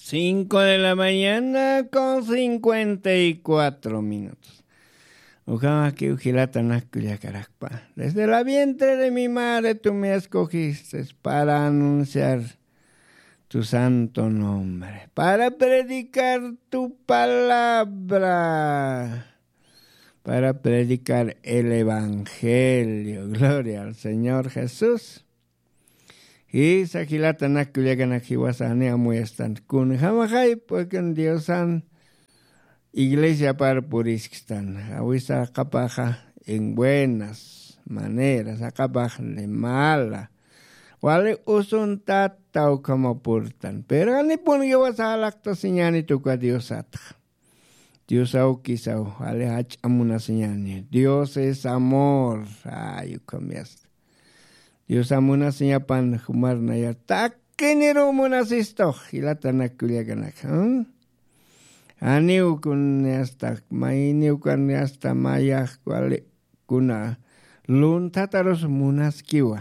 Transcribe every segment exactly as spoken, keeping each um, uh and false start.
Cinco de la mañana con cincuenta y cuatro minutos. Ukhamakiw jilatanak kullakarakpa, desde la vientre de mi madre tú me escogiste para anunciar tu santo nombre, para predicar tu palabra, para predicar el evangelio. Gloria al Señor Jesús. Jisa jilatanak kullakanak, jiwasani amuyastan kunjamaxay puekan diosan iglesiapar purisktan, awisaqapaxa en buenas maneras, aqapax de mala, wali usuntata ukhama purtan. Pero anipun jiwasa jalaqtasiñani tuka diosatxa. Dios awkisaw, ali jach'a munasiñani. Dios es amor. Ay ukham yasta. Dios amunasiñapan jumarnaya takiniru munasistux, jilatanak kullakanak. Aniw kun yasta mayniw kan yasta mayax wali kuna lunthatarus munaskiwa.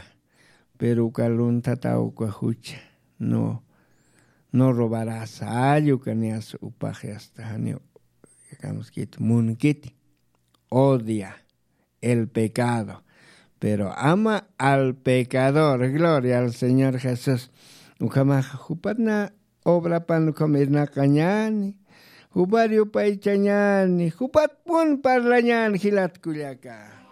Pero uka lunthataw uka jucha, no no robarasa alluka niyas upaxi asta janiw. Kamskit munkiti odia el pecado, pero ama al pecador. Gloria al señor jesús. Ukhamax jupatna obrapan ukham irnaqañani, jupar yupaychañani, jupatpun parlañani jilat kullaka.